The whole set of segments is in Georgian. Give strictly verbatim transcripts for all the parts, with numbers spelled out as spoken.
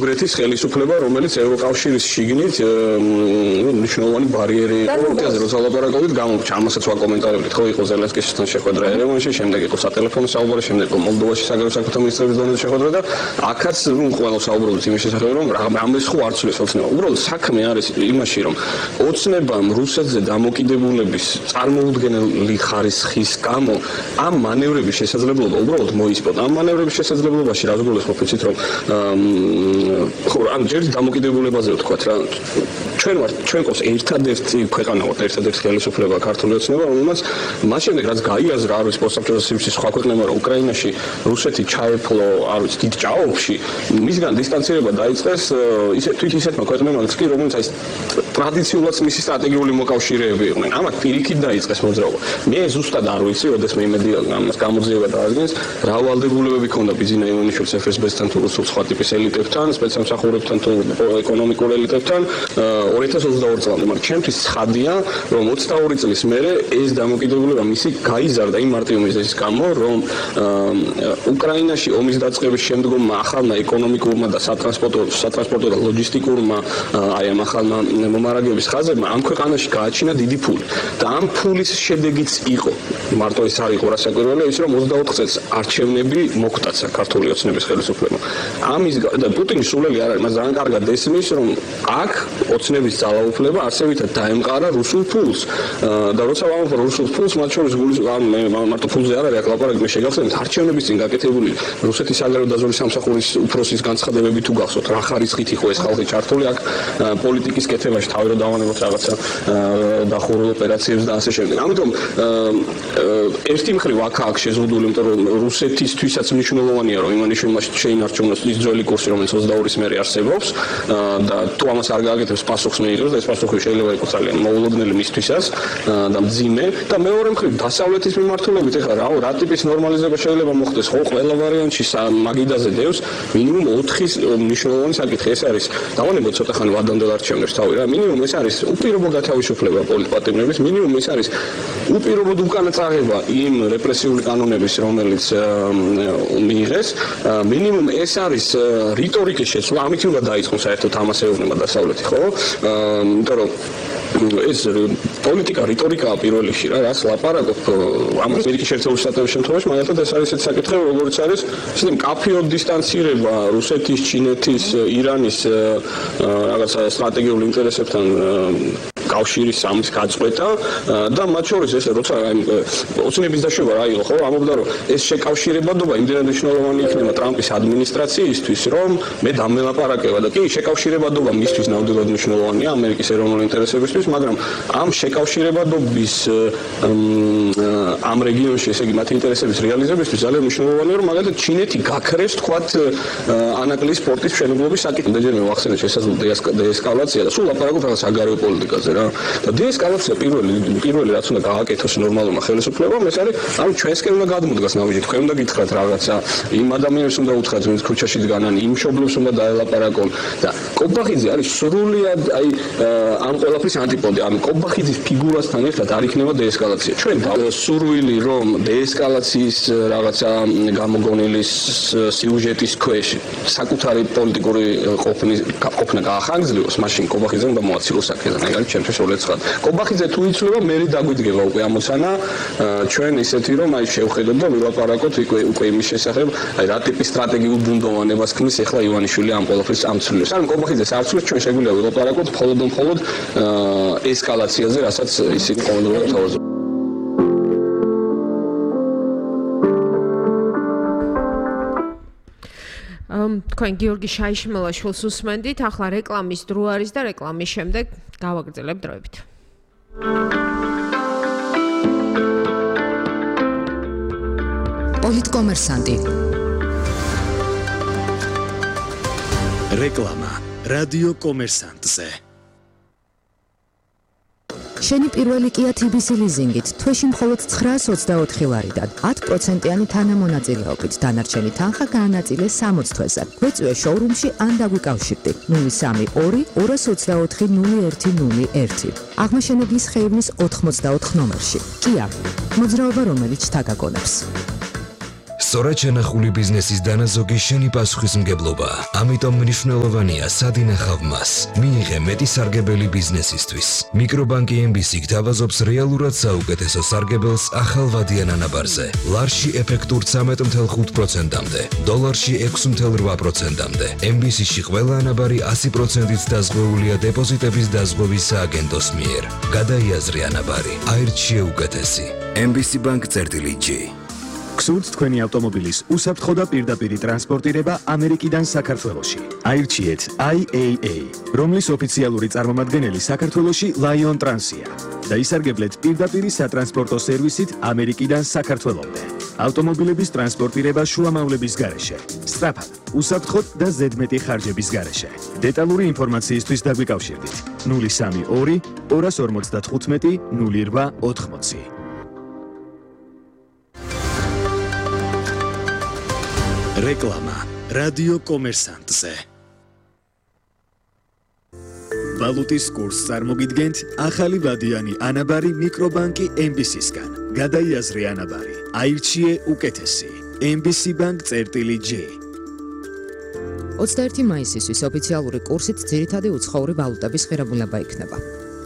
ბელგრადის ხელისუფლება, რომელიც ევროკავშირის შიგნით მნიშვნელოვანი ბარიერი იყო, როცა ლაპარაკობთ, გამომჩა ამასაც ვაკომენტარებდით, ხო იყო ზელენსკისთან შეხვედრა ერევანში, შემდეგ იყო სატელეფონო საუბარი, შემდეგ იყო მოლდოვაში საგარეო საქმეთა მინისტრების დონეზე შეხვედრა და აქაც ყველა საუბრობთ იმის შესახებ, რომ რამეს ხო არ ცვლის ოცნება. უბრალოდ საქმე არის იმაში, რომ ოცნებამ რუსეთზე დამოკიდებულების წარმოუდგენელი ხარისხის გამო ამ მანევრების შესაძლებლობა უბრალოდ მოისპოთ. ამ მანევრების შესაძლებლობაში რა გულისხმობ იცით რომ ხო ან ჯერ დამოკიდებულებაზე ვთქვათ რა ჩვენ ვართ ჩვენ ყავს ერთადერთი ქვეყანა ვართ ერთადერთი ხელისუფლება ქართული ოცნება რომელმაც მას შემდეგ რაც გაიაზრა არის პოსტსაბჭოთა სივრცის სხვა ქვეყნებმა რომ უკრაინაში რუსეთი ჩაეფლო არის დიდ ჭაობში მისგან დისტანცირება დაიწყეს ისე თვით ისეთმა ქვეყნებმაც კი რომელიც აი ტრადიციულად მისი სტრატეგიული მოკავშირეები იყვნენ ამათ პირიქით დაიწყეს მოძრაობა მე ზუსტად არ ვიცი როდესაც მე იმედი ამას გამოძიება დაადგენს რა ვალდებულებები ქონდა ბიზინა ივანიშვილის ეფ ეს ბე-სთან თუ რუსულ სხვა ტიპის ელიტებთან სპეცსამსახურებთან თუ ეკონომიკურ ელიტებთან ორი ათას ოცდაორი წლამდე მაგრამ ჩემთვის ცხადია რომ ოცდაორი წლის მერე ეს დამოკიდებულება მისი გაიზარდა იმ მარტივი მიზეზის გამო რომ უკრაინაში ომის დაწყების შემდგომ ახალმა ეკონომიკურმა და სატრანსპორტო სატრანსპორტო და ლოჯისტიკურმა აი ამ ახალმა მომარაგების ხაზებმა ამ ქვეყანაში გააჩინა დიდი ფული და ამ ფულის შედეგიც იყო მარტო ეს არ იყო რასაკვირველია ის რომ ოცდაოთხ წელს არჩევნები მოგვტაცა ქართული ოცნების ხელისუფლებამ ამის და პუტინის სულელი არ არის მას ძალიან კარგად ესმის რომ აქ ოცნების ძალაუფლება არსებითად დაემყარა რუსულ ფულს და როცა ვამბობ რუსულ ფულს მათ შორის გულის ან მე მარტო ფულზე არ არის აქ ლაპარაკი მე შეგახსენებთ არჩევნების წინ გაკეთებული რუსეთის საგარეო დაზვერვის სამსახურის უფროსის განცხადებები თუ გახსოვთ რა ხარისხით იყო ეს ხალხი ჩართული აქ პოლიტიკის კეთებაში თავი რომ დავანებოთ რაღაცა დახურულ ოპერაციებს და ასე შემდეგ ამიტომ ერთი მხრივ აქ აქ შეზღუდული იმიტომ რომ რუსეთისთვისაც მნიშვნელოვანია რომ ივანიშვილმა შეინარჩუნოს ის ძველი კურსი რომელიც ოცდაორის მერე არსებობს და თუ ამას არ გააკეთებს პასუხს მიიღებს და ეს პასუხი შეიძლება იყოს ძალიან მოულოდნელი მისთვისაც და მძიმე და მეორე მხრივ დასავლეთის მიმართულებით ეხლა რა რა ტიპის ნორმალიზება შეიძლება მოხდეს ხო ყველა ვარიანტში მაგიდაზე დევს მინიმუმ ოთხის მნიშვნელოვანი საკითხი ეს არის დავანებოთ ცოტა ხანი ვადამდელ არჩევნებს თავი რა მინიმუმ ეს არის უპირობო გათავისუფლება პოლიტპატიმრების მინიმუმ ეს არის უპირობოდ უკანა წაღება იმ რეპრესიული კანონების რომელიც მიიღეს მინიმუმ ეს არის რიტორიკის შეცვლა ამით უნდა დაიწყოს საერთოდ ამას ეუბნება დასავლეთი ხო იმიტომ რომ ეს პოლიტიკა რიტორიკაა პირველ რიგში რა რაც ლაპარაკობ ამას ამერიკის შეერთებული შტატების შემთხვევაში მაგალითად ეს არის ეს საკითხი როგორც არის ისე მკაფიოდ დისტანცირება რუსეთის ჩინეთის ირანის რაღაცა სტრატეგიული ინტერესებთან კავშირის სამის გაწყვეტა და მათ შორის ეს როცა აი ოცნების დაშვება რა იყო ხო ამბობდა რომ ეს შეკავშირებადობა იმდენად მნიშვნელოვანი იქნება ტრამპის ადმინისტრაციისთვის რომ მე დამელაპარაკება და კი შეკავშირებადობა მისთვის ნამდვილად მნიშვნელოვანია ამერიკის ეროვნული ინტერესებისთვის მაგრამ ამ შეკავშირებადობის ამ რეგიონში ესე იგი მათი ინტერესების რეალიზებისთვის ძალიან მნიშვნელოვანია რომ მაგალითად ჩინეთი გაქრეს თქვათ ანაკლის სპორტის მშენებლობის საკითხი და მე ვახსენე შესაძლოა დეესკალაცია და სულ ლაპარაკობ რაღაც საგარეო პოლიტიკაზე რა და დეესკალაცია პირველი პირველი რაც უნდა გააკეთოს ნორმალურმა ხელისუფლებამ ეს არის ანუ ჩვენსკენ უნდა გადმოდგას ნავიჯი თქვენ უნდა გითხრათ რაღაცა იმ ადამიანებს უნდა უთხრათ ვინც ქუჩაში დგანან იმ მშობლებს უნდა დაელაპარაკონ და კობახიძე არის სრულიად აი ამ ყველაფრის ანტიპოდი ანუ კობახიძის ფიგურასთან ერთად არ იქნება დეესკალაცია ჩვენ სურვილი რომ დეესკალაციის რაღაცა გამოგონილის სიუჟეტის ქვეშ საკუთარი პოლიტიკური ყოფნის ყოფნა გაახანგრძლიოს მაშინ კობახიძე უნდა მოაცილოს აქედან ეგ არის ჩემთვის უცხად. კობახიძე თუ იცვლება, მე დაგვიდგება უკვე ამოცანა ჩვენ ისეთი რომ აი შევხედოთ და ვილაპარაკოთ უკვე უკვე იმის შესახებ, აი რა ტიპის სტრატეგიულ ბუნდოვანებას ქმნის ახლა ივანიშვილი ამ ყველაფრის ამცვლელს. ან კობახიძეს არ ცვლებს ჩვენ შეგვიძლია ვილაპარაკოთ მხოლოდ და მხოლოდ ესკალაციაზე, რასაც ისინი ყოველდღიურად თავაზობენ. თქვენ გიორგი შაიშმელაშვილს უსმენდით, ახლა რეკლამის დრო არის და რეკლამის შემდეგ გავაგრძელებ დროებით. პოლიტკომერსანტი. რეკლამა რადიო კომერსანტზე. შენი პირველი Kia T B C ლიზინგით თვეში მხოლოდ ცხრაას ოცდაოთხი ლარიდან ათ პროცენტიანი თანამონაწილეობით დანარჩენი თანხა გაანაწილე სამოც თვეზე. გვეწვიე შოურუმში ან დაგვიკავშირდი ნული სამი ორი ორას ოცდაოთხი ნული ერთი ნული ერთი. აღმაშენებლის ხეივნის ოთხმოცდაოთხ ნომერში. Kia. მოძრაობა რომელიც თაგაგონებს. სწორად შენახული ბიზნესის დანაზოგი შენი პასუხისმგებლობაა. ამიტომ მნიშვნელოვანია სად ინახავ მას. მიიღე მეტი სარგებელი ბიზნესისთვის. მიკრობანკი ემ ბი სი გთავაზობს რეალურად საუკეთესო სარგებელს ახალ ვადიან ანაბარზე. ლარში ეფექტურ ცამეტ ათი ოცდახუთ პროცენტამდე, დოლარში ექვსი ოცდაოთხ პროცენტამდე. ემ ბი სი-ში ყველა ანაბარი ასი პროცენტით დაზღვეულია დეპოზიტების დაზღვევის სააგენტოს მიერ. გადაიაზრე ანაბარი, აირჩიე უკეთესი. ემ ბი სი Bank წერტილი ჯი. გსურთ თქვენი ავტომობილის უსაფრთხო და პირდაპირი ტრანსპორტირება ამერიკიდან საქართველოში. აირჩიეთ აი ეი ეი, რომლის ოფიციალური წარმომადგენელი საქართველოში Lion Trans-ია და ისარგებლეთ პირდაპირი სატრანსპორტო სერვისით ამერიკიდან საქართველომდე. ავტომობილების ტრანსპორტირება შუამავლების გარეშე, სწრაფად, უსაფრთხოდ და ზედმეტი ხარჯების გარეშე. დეტალური ინფორმაციისთვის დაგვიკავშირდით ნული სამი ორი ორას ორმოცდათხუთმეტი ნული რვა ოთხმოცი. რეკლამა რადიო კომერსანტზე. ვალუტის კურსს წარმოგიდგენთ ახალი ვადიანი ანაბარი მიკრობანკი ემ ბი სი-სგან. გადაიაზრე ანაბარი, აირჩიე უკეთესი. ემ ბი სი Bank წერტილი ჯი. ოცდაერთი მაისისთვის ოფიციალური კურსით ძირითადი უცხოური ვალუტების ღირებულება იქნება.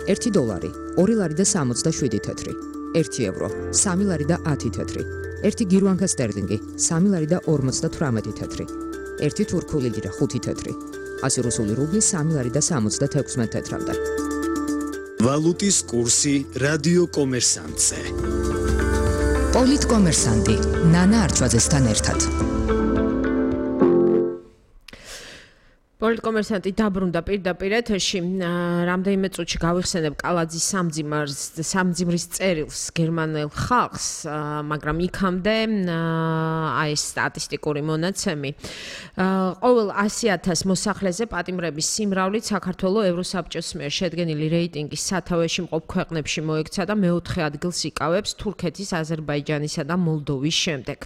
ერთი დოლარი, ორი ლარი და სამოცდაშვიდი თეთრი, ერთი ევრო, სამი ლარი და ათი თეთრი. ერთი გირვანკა სტერლინგი, სამი ლარი და ორმოცდათვრამეტი თეთრი, ერთი თურქული ლირა, ხუთი თეთრი, ასი რუსული რუბლი, სამი ლარი და სამოცდათექვსმეტ თეთრამდე. ვალუტის კურსი რადიო კომერსანტზე. პოლიტ კომერსანტი, ნანა არჩვაძესთან ერთად. პოლიტკომერსანტი დაბრუნდა პირდაპირ ეთერში. რამდენიმე წუთში გავიხსენებ კალაძის სამძიმარს სამძიმრის წერილს გერმანელ ხალხს, მაგრამ იქამდე აი ეს სტატისტიკური მონაცემი. ყოველ ასი ათას მოსახლეზე პატიმრების სიმრავლით საქართველოს ევროსაბჭოს მიერ შედგენილი რეიტინგის სათავეში მყოფ ქვეყნებში მოექცა და მეოთხე ადგილს იკავებს თურქეთის, აზერბაიჯანისა და მოლდოვის შემდეგ.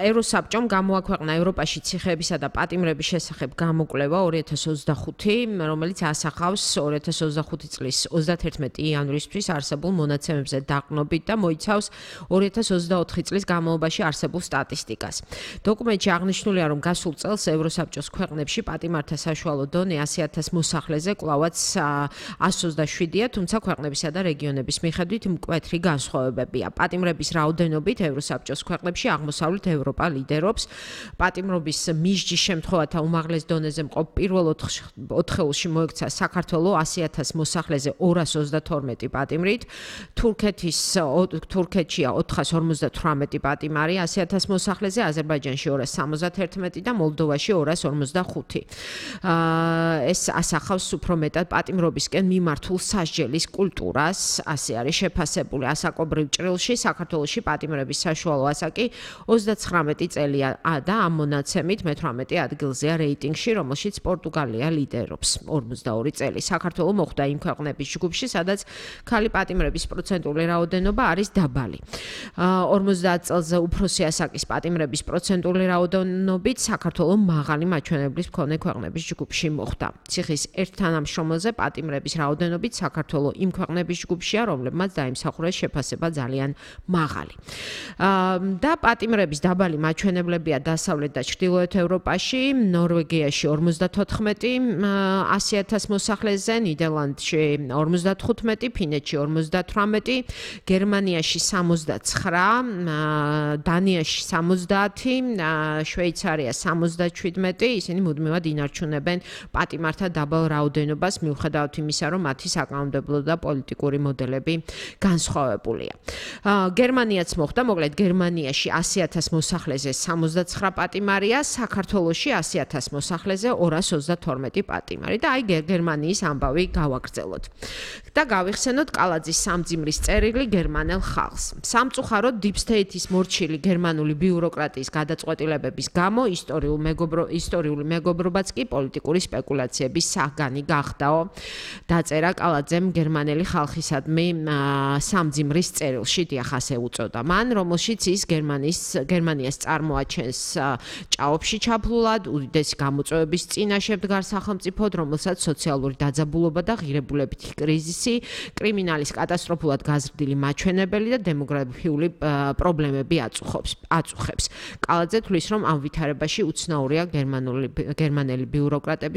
ევროსაბჭომ გამოაქვეყნა ევროპაში ციხეებისა და პატიმრების შესახებ გამო კვლევა ორი ათას ოცდახუთი, რომელიც ასახავს ორი ათას ოცდახუთი წლის ოცდათერთმეტი იანვრისთვის არსებულ მონაცემებზე დაყრდნობით და მოიცავს ორი ათას ოცდაოთხი წლის განმავლობაში არსებულ სტატისტიკას. დოკუმენტში აღნიშნულია, რომ გასულ წელს ევროსაბჭოს ქვეყნებში პატიმართა საშუალო დონე ასი ათას მოსახლეზე კვლავაც ასი ოცდაშვიდია, თუმცა ქვეყნებისა და რეგიონების მიხედვით მკვეთრი განსხვავებებია. პატიმრების რაოდენობით ევროსაბჭოს ქვეყნებში აღმოსავლეთ ევროპა ლიდერობს. პატიმრობის მისჯის შემთხვევათა უმაღლეს დონეზე მყოფ პირველ ოთხეულში მოექცა საქართველოს ასი ათას მოსახლეზე ორას ოცდათორმეტი პატიმრით, თურქეთის თურქეთშია ოთხას ორმოცდათვრამეტი პატიმარი ასი ათას მოსახლეზე, აზერბაიჯანში ორას სამოცდაერთმეტი და მოლდოვაში ორას ორმოცდახუთი. ეს ასახავს უფრო მეტად პატიმრობისკენ მიმართულ სასჯელის კულტურას, ასე არის შეფასებული ასაკობრივ ჭრილში საქართველოში პატიმრების საშუალო ასაკი ოცდაცხრამეტი წელია და ამ მონაცემით მეთვრამეტე ადგილზეა რეიტინგში, რომელშიც პორტუგალია ლიდერობს ორმოცდაორი წელი. საქართველოს მოხვდა იმ ქვეყნების ჯგუფში, სადაც ქალი პატიმრების პროცენტული რაოდენობა არის დაბალი. ორმოცდაათ წელზე უფროსი ასაკის პატიმრების პროცენტული რაოდენობით საქართველოს მაღალი მაჩვენებლის მქონე ქვეყნების ჯგუფში მოხვდა. ციხის ერთ თანამშრომელზე პატიმრების რაოდენობით საქართველოს იმ ქვეყნების ჯგუფშია, რომლებმაც დაიმსახურეს შეფასება ძალიან მაღალი. და პატიმრების დაბალი მაჩვენებლებია დასავლეთ და ჩრდილოეთ ევროპაში, ნორვეგიაში ორმოცდათოთხმეტი ასი ათას მოსახლეზე, ნიდერლანდში ორმოცდათხუთმეტი, ფინეთში ორმოცდათვრამეტი, გერმანიაში სამოცდაცხრა, დანიაში სამოცდაათი, შვეიცარია სამოცდაშვიდმეტი, ისინი მუდმივად ინარჩუნებენ პატიმართა დაბალ რაოდენობას, მიუხედავად იმისა, რომ მათი საკანონმდებლო და პოლიტიკური მოდელები განსხვავებულია. გერმანიაც მოხდა, მოკლედ გერმანიაში ასი ათას მოსახლეზე სამოცდაცხრა პატიმარია, საქართველოში ასი ათას მოსახლეზე ორას ოცდათორმეტი პატიმარი და აი გერმანიის ამბავი გავაგრძელოთ. და გავიხსენოთ კალაძის სამძიმრის წერილი გერმანელ ხალხს. სამწუხაროდ Deep State-ის მორჩილი გერმანული ბიუროკრატიის გადაწყვეტილებების გამო ისტორიულ მეგობრო ისტორიული მეგობრობაც კი პოლიტიკური სპეკულაციების საგანი გახდაო. დაწერა კალაძემ გერმანელი ხალხისადმი სამძიმრის წერილში, დიახ, ასე უწოდა მან, რომელშიც ის გერმანიის გერმანიას წარმოაჩენს ჭაობში ჩაფლულად, უდიდესი გამოწვევების რის წინაშე მდგარ სახელმწიფოდ, რომელსაც სოციალური დაძაბულობა და ღირებულებითი კრიზისი, კრიმინალის კატასტროფულად გაზრდილი მაჩვენებელი და დემოგრაფიული პრობლემები აწუხებს. აწუხებს. კალაძე თვლის, რომ ამ ვითარებაში უცნაურია გერმანული გერმანელი ბიუროკრატების